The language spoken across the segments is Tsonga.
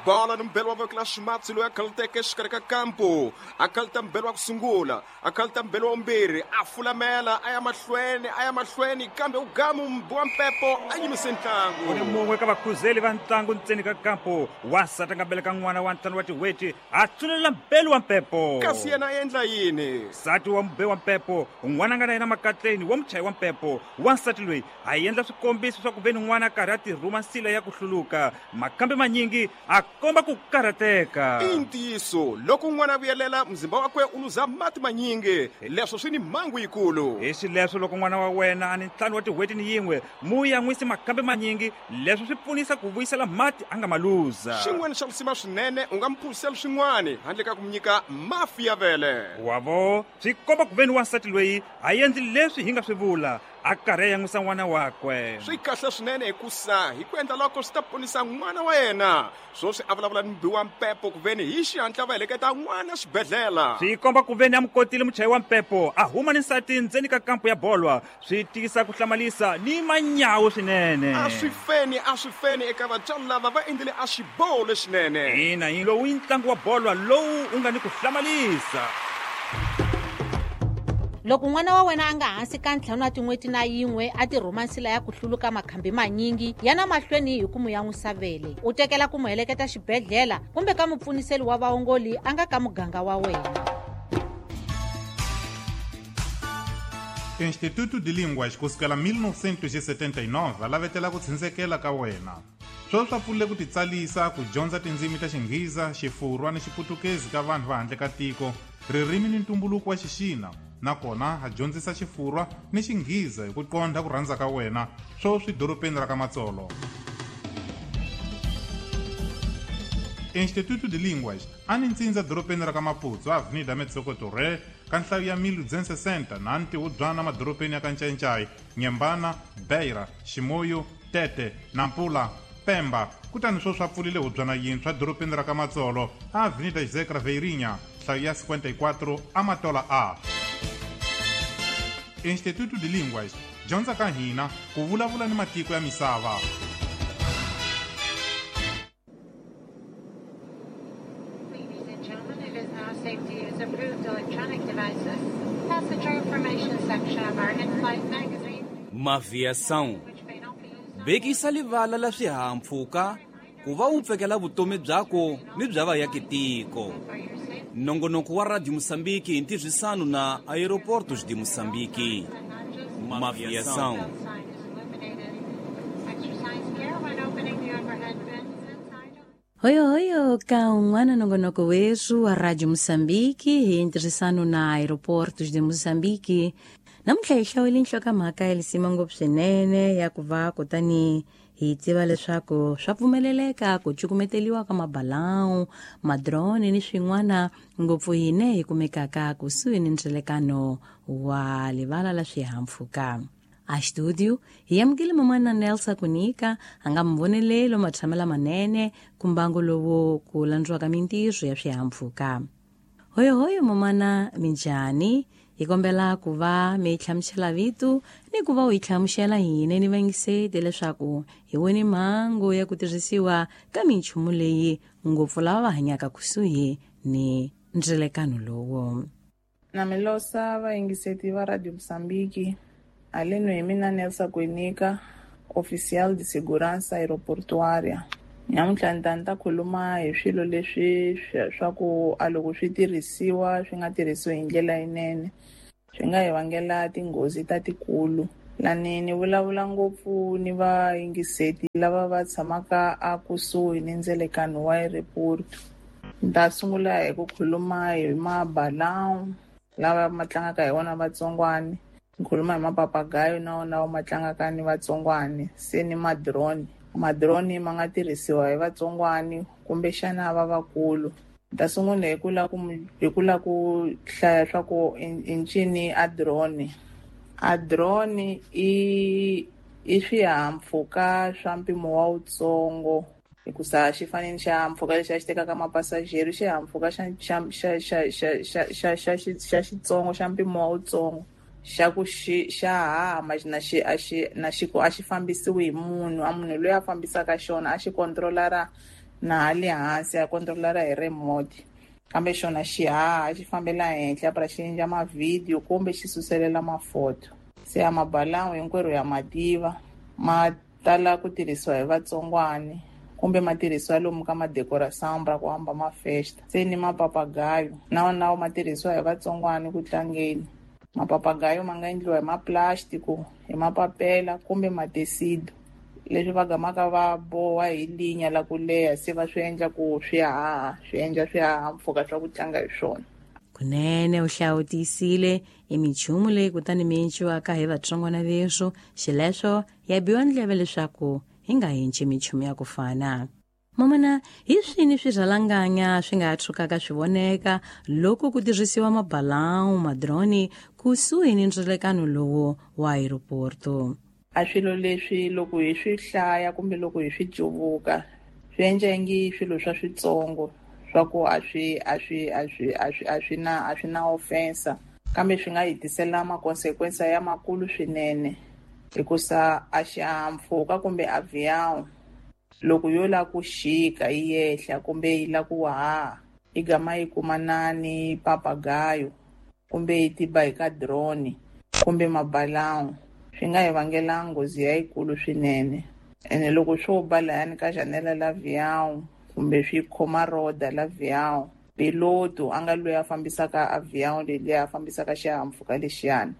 Bola ni mbelo wa voko la ximatsi loyi a khaluteke exikarhi ka kampu, a khaluta mbelo wa ku sungula, a khaluta mbelo wa vumbirhi, a fulamela a ya mahlweni, a ya mahlweni, kambe u gamu wa mpepo a yimise ntlangu. Ku ni mun'we ka vakhuzeli va ntlangu ntseni ka kampu, wansati a nga beleka n'wana wa ntlhanu wa tin'hweti, a tsulelela mbelu wa mpepo. Kasi yena a endla yini? Nsati wa mube wa mpepo, n'wana a nga na yena makatleni wa muchayi wa mpepo, wansati loyi a endla swikombiso swa ku ve ni n'wana a karhi a tirhuma nsila ya ku hluluka. Makambe manyingi a komba ku karhateka. I ntiyiso, loko n'wana a vuyelela, muzimba wakwe u luza mati manyingi. Leswo swi ni mhangu yikulu. Hi xileswo, loko n'wana wa wena a ni ntlhanu wa tin'hweti ni yin'we, mu yan'wisi makambe manyingi. Leswo swi pfunisa ku vuyisela mati a nga ma luza. Xin'wana xa lisima swinene, u nga mu phuzisela swin'wana handle ka ku mu nyika mafi ya vele. Wa vo, swi komba ku ve ni wansati loyi a endli leswi hi nga swi vula. A karhi a yan'wisa n'wana wakwe. Swi kahle swinene hikusa hi ku endla loko swi ta ponisa n'wana wa yena. Swoswi a vulavula ni mubi wa mpepo kuveni hi xihatla va heleketa n'wana xibedhlela. Swi komba kuveni a mu kotile muchayi wa mpepo a huma ni nsati ndzeni ka kampu ya bolwa. Swi tiyisa ku hlamalisa ni manyawu swinene. A swi feni, a swi feni eka vatswari lava va endlile a xiboho lexinene. Ina, lowu i ntlangu wa bolwa lowu u nga ni ku hlamalisa. Loko n'wana wa wena a nga hansi ka ntlhanu wa tin'hweti na yin'we a tirhuma nsila ya ku hluluka makhambi manyingi, yana mahlweni hi ku mu yan'wisa vele. U tekela ku mu heleketa xibedhlela kumbe ka mupfuniseli wa vaongoli a nga ka muganga wa wena. Instituto de Línguas ku sukela 1979 va lavetela ku tshindzekela ka wena. Sweswi swa pfulile ku titsalisa ku dyondza tindzimi ta Xinghiza, Xifurwa ni Xiputukezi ka vanhu va handle ka tiko, ririmi ni ntumbuluko wa Xixina, nakona ha dyondzisa Xifurwa ni Xinghiza hi ku qondha ku rhandza ka wena, sweswi dorobeni ra ka Matsolo. Instituto de Línguas a ni ntsindza dorobeni ra ka Maputo, Avenida Metsoco Torre, ka nhlayo ya 1260 na ntihubyana madorobeni ya ka Ncayincai, Nyembana, Beira, Chimoio, Tete, Nampula, Pemba, kutani sweswi a pfulile hubyana yintshwa dorobeni ra ka Matsolo, a Avenida José Craveirinha, nhlayo ya 54, Amatola A. Instituto de Línguas, dyondza ka hina ku vulavula ni matiko ya misava. Ladies and gentlemen, it is now safe to use approved electronic devices. Passenger information section of our in-flight magazine. Maviação vekisa livala la swihahampfhuka ku va wu pfekela vutomi byako ni bya vayakitiko. Nongonoko wa Radio Moçambique hi ntirhisano na Aeroportos de Moçambique. Maviação. Hoyo hoyo ka un'wana nongonoko werhu wa Radio Moçambique hi ntirhisano na Aeroportos de Moçambique. Namuntlha hi hlawule nhlokomhaka ya lisima ngopfu swinene ya ku va kutani hi tiva leswaku swa pfumeleleka ku cukumeteliwa ka mabalau, madrone ni swin'wana ngopfu hine hi kumekaka kusuhi ni ndzelekano wa livala la swihahampfhuka. A studio hi amukele mamana Nelsa Kunika a nga muvonelelo matshamela manene ku mbangu lowu ku landziwaka mintirho ya swihahampfhuka. Hoyohoyo mamana minjhani? Hi kombela ku va mi hlamusela vito ni ku va u hi hlamusela hina ni vayingiseti leswaku hi wone mhangu ya ku tirhisiwa ka minchumu leyi ngopfu lava va hanyaka kusuhi ni ndzelekano lowu. Na mi losa vayingiseti va Radio Moçambique, haleno hi mina Nelsa Kwenika, oficial de segurança aeroportuária. Namuntlha ni ta ni ta khuluma hi swilo leswi swa ku a loko swi tirhisiwa swi nga tirhisiwi hi ndlela yinene swi nga hi vangela tinghozi ta tikulu. Lani ni vulavula ngopfu ni vayingiseti lava va tshamaka a kusuhi ni ndzelekano wa aeroporto. Ni ta sungula hi ku khuluma hi mabalau lava ma tlangaka hi wona vatsongwani, ni khuluma hi mapapagayo na wona ma tlangaka ni vatsongwani, se ni madrone. Madrone ma nga tirhisiwa hi vatsongwani kumbexana va vakulu. Ni ta sungula hi ku la ku hi ku la ku hlaya swa ku i ncini a drone. A drone i swihahampfhuka swa mpimo wa wutsongo hikusa xi fane ni xihahampfhuka lexi a xi tekaka mapasajero, xihahampfhuka xa xa xa xa xa xa xa xa xa xitsongo xa mpimo wa wutsongo xa ku xi xa haha na xi a xi na xi ku a xi fambisiwi hi munhu, a munhu loyi a fambisaka xona a xi controlara Na hale hansi a controlara hi remote, kambe xona xi haha xi fambela henhla para xi endla mavhidiyo kumbe xi suselela mafoto. Se a mabalão hinkwerhu ya mativa, ma tala ku tirhisiwa hi vatsongwani kumbe ma tirhisiwa lomu ka madecoração ra ku hamba mafesta. Se ni mapapagayo na wona ma tirhisiwa hi vatsongwani ku tlangeni. Mapapagayo ma nga endliwa hi maplastic, hi mapapela kumbe matesido, leswi va gamaka va boha hi linya la ku leha, se va swi endla ku swi haha, swi endla swihahampfhuka swa ku tlanga hi swona. Kunene u hlawutisile i minchumu leyi kutani mi enciwaka hi vatsongwana veswo, xileswo ya biwa ndleve leswaku hi nga henci minchumu ya ku fana. Mamana, hi swini swirhalanganya swi nga tshukaka swi voneka loko ku tirhisiwa mabalão, madroni kusuhi ni ndzilekano lowu wa aeroporto? A swilo leswi loko hi swi hlaya kumbe loko hi swi cuvuka swi endla ingi swilo swa switsongo swa ku a swi a swi a swi a swi a swi na a swi na ofensa, kambe swi nga hi tisela makonsekwensa ya makulu swinene, hikusa a xihahampfhuka kumbe avião loko yo la ku xika yi yehla kumbe yi la ku haha yi gama yi kumana ni papagayo kumbe yi tiba hi ka drone kumbe mabalão, swi nga hi vangela nghozi yayikulu swinene. Ene loko swo ba layani ka janela la avião kumbe swi khoma roda la avião, piloto a nga loyi a fambisaka avião leyi a fambisaka xihahampfhuka lexiyani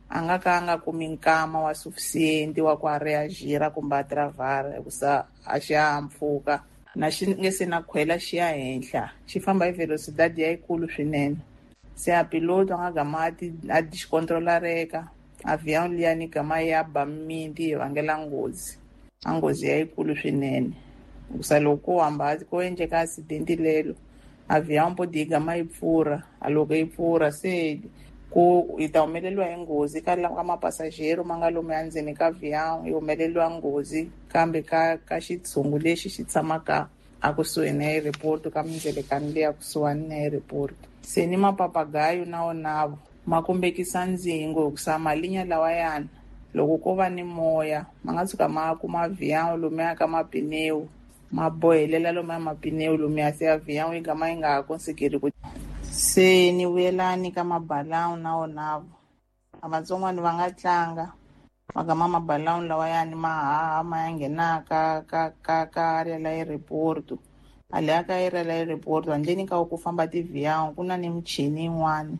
a nga ka a nga kumi nkama wa suficiente wa ku a reagira kumbe a travara, hikusa a xihahampfhuka na xi nge se na khwela xi ya henhla, xi famba hi velocidade yayikulu swinene. Se a piloto a nga gama a discontrolareka avião liyani gama ya ba mimiti yi vangela nghozi, a nghozi yayikulu swinene. Hikusa loko ko hamba ko endleka accident lelo, avião podi yi gama yi pfurha, a loko yi pfurha se ku yi ta humeleriwa hi nghozi ka ka mapasajero ma nga lomu endzeni ka avião, yi humeleriwa nghozi kambe ka xitshungu lexi xi tshamaka a kusuhi na aeroporto, ka mindzelekano leyi a kusuhani na aeroporto. Se ni mapapagayo na wonavo ma kumbekisa ndzingo, hikusa malinya lawayani loko ko va ni moya ma nga tshuka ma kuma avião lomuya ka mapineu, ma bohelela lomuya mapineu lomuya, se avião yi gama yi nga ha konsekeri ku. Se ni vuyelani ka mabalão na wonavo, a vatsongwani va nga tlanga va gama mabalão lawayani ma haha ma ya nghena ka area la aeroporto. A leya ka area la aeroporto handleni ka ku famba tiavião ku na ni michini yin'wani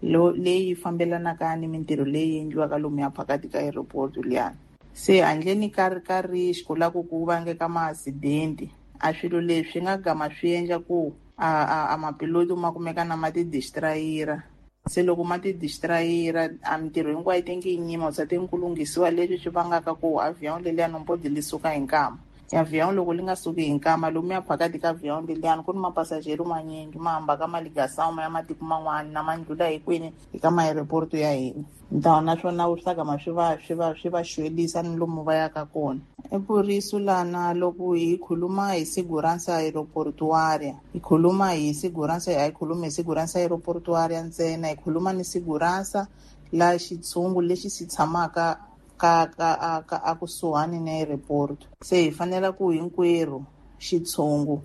leyi fambelanaka ni mintirho leyi endliwaka lomuya phakati ka aeroporto liyani. Se handleni ka risk la ku vangeka ma-accident, a swilo leswi nga gama swi endla ku a mapiloto ma kumeka na ma ti-distrayira. Se loko ma ti-distrayira a mintirho hinkwayo ti nge yi nyima, sa ti ku lunghisiwa leswi swi vangaka ku avião leliyani mpodi li suka hi nkama. Avião loko li nga suki hi nkama, lomuya phakati ka avião leliyani ku ni mapasajero manyingi ma hamba ka maligação ma ya matiko man'wani na ma ndlula hi kwini hi ka maaeroporto ya hina. Ntawo naswona swi ta gama swi va xwelisa ni lomu va yaka kona. I ku risu lana loko hi khuluma hi segurança aeroportuária, hi khuluma hi segurança, a hi khulumi hi segurança aeroportuária ntsena, hi khuluma ni segurança la xitshungu lexi xi tshamaka ka a kusuhani na aeroporto. Se hi fanela ku hinkwerhu xitshungu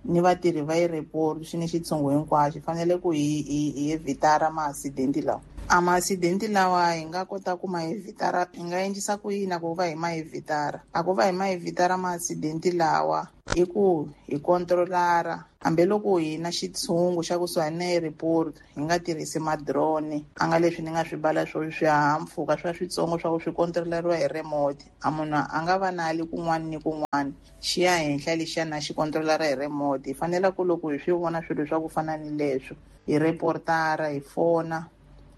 ni vatirhi va aeroporto xi ni xitshungu hinkwaxo hi fanele ku hi evitara ma-accident lawa. A ma-accident lawa hi nga kota ku ma evitara, hi nga endlisa ku yini ku va hi ma evitara? A ku va hi ma evitara ma-accident lawa i ku hi controlara hambiloko hi na xitshungu xa kusuhani na aeroporto, hi nga tirhisi madrone a nga leswi ni nga swi bala swo swihahampfhuka swa switsongo swa ku swi controleriwa hi remote. A munhu a nga va na ali kun'wana ni kun'wana xi ya henhla lexiya na xi controlara hi remote. Hi fanele ku loko hi swi vona swilo swa ku fana ni leswo hi reportara, hi fona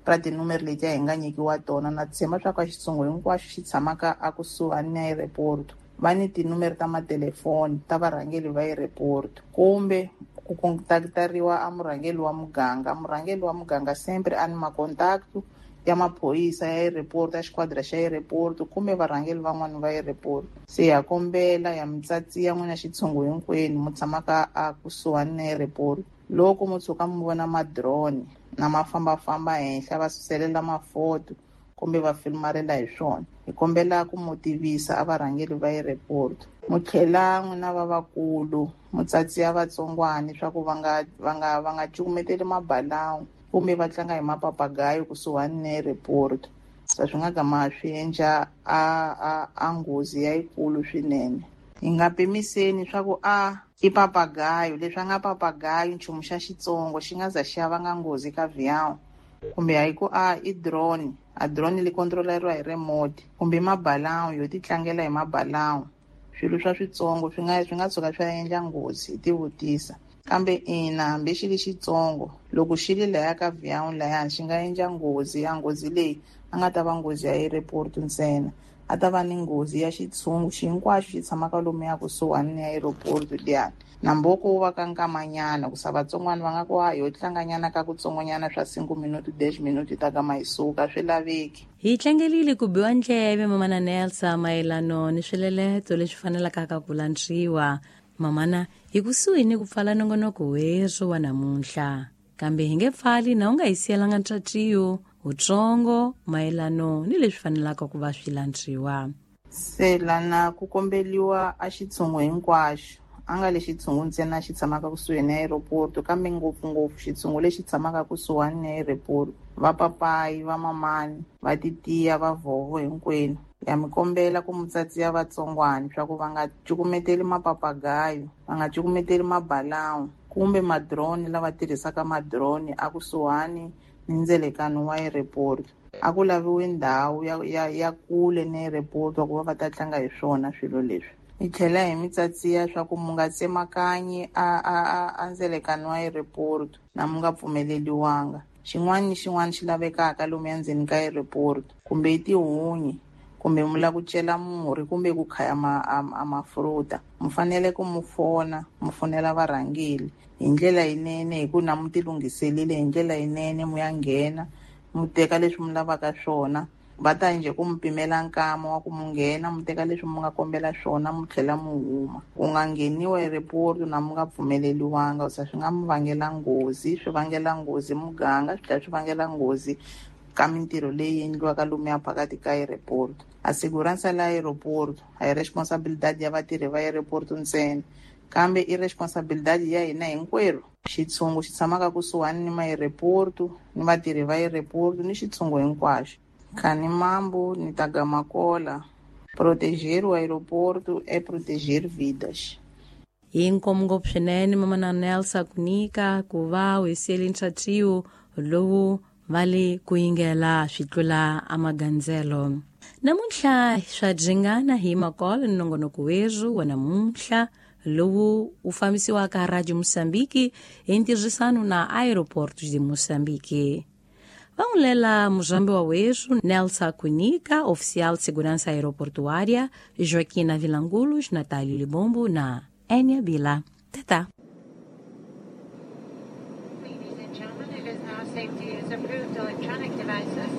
ra tinumere letiya hi nga nyikiwa tona. Na tshemba swa ku a xitshungu hinkwaxo xi tshamaka a kusuhani na aeroporto va ni tinumere ta matelefoni ta varhangeri va aeroporto, kumbe ku kontaktariwa a murhangeri wa muganga. Murhangeri wa muganga sempre a ni makontakto ya maphorisa ya aeroporto, ya xikhwadra xa aeroporto kumbe varhangeri van'wani va aeroporto. Se ha kombela ya mitsatsi ya n'wina xitshungu hinkwenu mu tshamaka a kusuhani na aeroporto, loko mo tshuka mi vona madrone na ma fambafamba henhla va suselela mafoto kumbe va filmarela hi swona. Hi kombela ku mu tivisa a varhangeri va airport. Mu tlhela n'wina va vakulu mu tsatsiya vatsongwani swa ku va nga cukumeteli mabalawu kumbe va tlanga hi mapapagayo kusuhani na airport. Sa swi nga gama swi endla a nghozi yayikulu swinene. Hi nga pimiseni swa ku a i papagayo, leswi a nga papagayo nchumu xa xitsongo xi nga za xi ya vanga nghozi ka avião, kumbe hayi ku a i drone, a drone li controleriwa hi remote, kumbe mabalawu yo ti tlangela hi mabalawu. Swilo swa switsongo swi nga tshuka swi endla nghozi, hi tivutisa. Kambe ina hambi xi li xitsongo loko xi li laya ka avião layani xi nga endla nghozi, ya nghozi leyi a nga ta va nghozi ya airport ntsena, a ta va ni nghozi ya xitshungu hinkwaxo xi tshamaka lomuya kusuhani ni airport liyani. Na mboko wu va ka nkamanyana ku sa vatsongwana va nga ku yo tlanganyana ka kutsongonyana swa 5 minuti 10 minuti ta kama yi suka, swi laveki. Hi tlangelile ku biwa ndleve mamana Nelsa mayelano ni swileleto leswi fanelaka ka ku landziwa. Mamana hi kusuhi ni ku pfala nongonoko werhu wa namuntlha, kambe hi nge pfali na u nga hi siyelanga ntshatsiyo wutsongo mayelano ni leswi fanelaka ku va swi landziwa. Se lana ku kombeliwa a xitshungu hinkwaxo, a nga lexi xitshungu ntsena xi tshamaka kusuhi na airport, kambe ngopfungopfu xitshungu lexi tshamaka kusuhani na airport, va papayi, va mamani, va titiya, va vovo hinkwenu. Ya mi kombela ku mu tsatsiya vatsongwani swa ku va nga cukumeteli mapapagayo, va nga cukumeteli mabalawu kumbe madrone lava tirhisaka madrone a kusuhani ni ndzelekano wa airport. A ku laviwi ndhawu ya kule ni airport ku va va ta tlanga hi swona swilo leswi. Hi tlhela hi mi tsatsiya swa ku mu nga tsemakanyi a ndzelekano wa airport na mu nga pfumeleliwanga. Xin'wana ni xin'wana xi lavekaka lomuya ndzeni ka airport, kumbe i tihunyi, kumbe mu lava ku cela murhi, kumbe ku khaya a mafruta, mu fanele ku mu fona, mu fonela varhangeli hi ndlela yinene, hi ku na mu tilunghiselile hi ndlela yinene, mu ya nghena mu teka leswi mu lavaka swona. Va ta njhe ku mu pimela nkama wa ku mu nghena, mu teka leswi mu nga kombela swona, mu tlhela mu huma. Ku nga ngheniwa airport na mu nga pfumeleliwanga, sa swi nga mu vangela nghozi, swi vangela nghozi muganga, swi tlhela swi vangela nghozi ka mintirho leyi endliwaka lomuya phakathi ka airport. A segurança la aeroporto a hi responsabilidade ya vatirhi va airport ntsena, kambe i responsabilidade ya hina hinkwerhu. Xitshungu xi tshamaka kusuhani ni ma-airport, ni vatirhi va airport, ni xitshungu hinkwaxo. Khani mambo ni tagamakola, proteger o aeroporto é proteger vidas. Hi nkomu ngopfu swinene mamana Nelsa Kunika ku va u hi siyele ntshatsiyo lowu va le ku yingela swi tlula amagandzelo. Namuntlha swa dzingana hi makolo ni nongonoko werhu wa namuntlha lowu wu fambisiwaka Radio Moçambique hi ntirhisano na Aeroportos de Moçambique. Vangulela muzambi wa werhu Nelsa Kunika, oficial de segurança aeroportuária, Joaquina Vilangulos, Natalio Libombo na Enia Bila. Tata. Ladies and gentlemen, it is now safe to use approved electronic devices.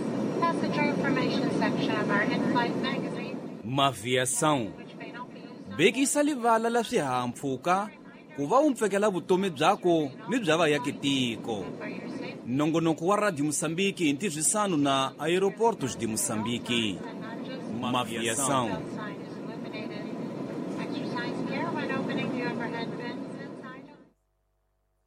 Passenger information section of our in-flight magazine. Maviação. Bekisa livala la swihahampfhuka ku va u mpfekela vutomi byako ni bya vayakitiko. Nongonoko wa Radio Moçambique hi ntirhisano na Aeroportos de Moçambique. Maviação.